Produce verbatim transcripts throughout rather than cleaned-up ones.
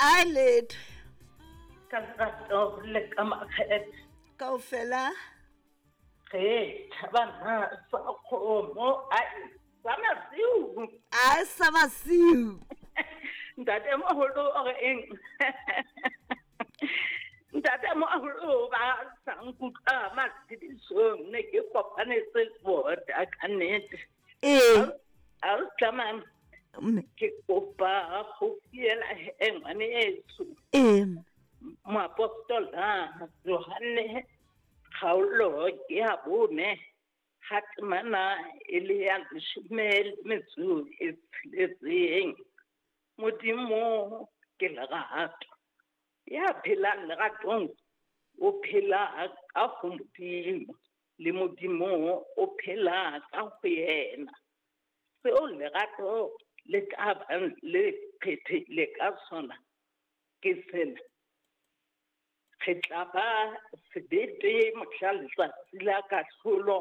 A letho. Ka lerato le ka makgethe. Kaofela. Re thabana sa kgomo ai sa masiu. A sa masiu. Ntate moholo o re eng? Ntate moholo ba sa nkutlwa matshedisong ne ke kopanetse bota ka nnete. Ee. A o tlamang Mme. Ke kopa go fiela he ngwaneso. Ee. Moapostola Johanne kgaolo ke ya bone ha temana e le ya leshome le metso e tsheletseng. Modimo ke lerato. Ya phelang leratong o phela ka ho Modimo, le Modimo o phela ka ho yena. Seo lerato le ka bang le phethile ka sona ke sena. Re tla ba sebete mohla letsatsi la kahlolo,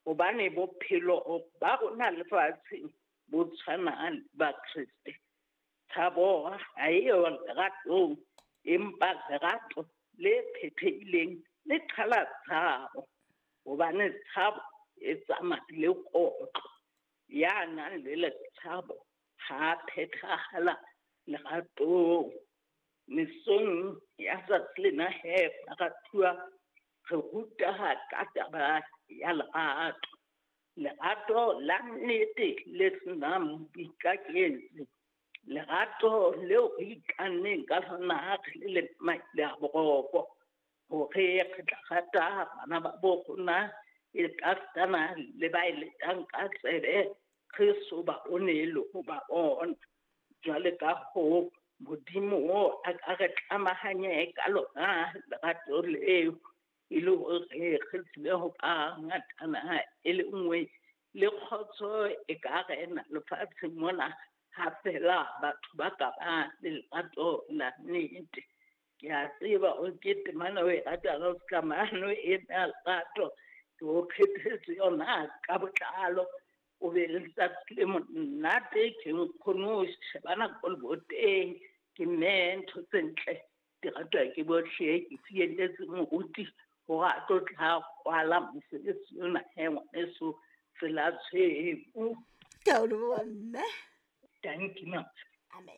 hobane bophelo ba rona lefatsheng bo tshwana le ba Kreste. Tshabo ha eyo leratong, empa lerato le phethehileng le qhala tshabo, hobane tshabo e tsamaya le kotlo. Ya nang le letshabo ha phethahala leratong. Mesong ya tsatsi lena he baratuwa, re ruta ka taba ya lerato. Lerato la nnete le senang boikaketsi. Lerato leo re ikanneng ka lona re le maile a boroko, hore re tla rata bana ba bo rona e ka le ba e letang ka tsebe, re so ba bone le ho ba bona. Jwale ka hoo Modimo a ka re tlamahanye ka lona lerato leo, e le hore re tsebe ho ba ngatana e le nngwe le kgotso e ka rena lefatsheng mona, ha fela batho ba ka ba le lerato la nnete. Ke a tseba o ke temana o e ratang, o tlamano e na lerato, ke o phethetse yona ka botlalo. O be le letsatsi le monate, ke nkgono o shebana ko leboteng, ke mme ntho tse ntle di ratwa ke bohle. Ke fielletse moruti hore a tlo tla kwala mosebetsi ona he ngwaneso tsela tshweu. Ke a o leboha mme. Thank you, ma'am. Amen.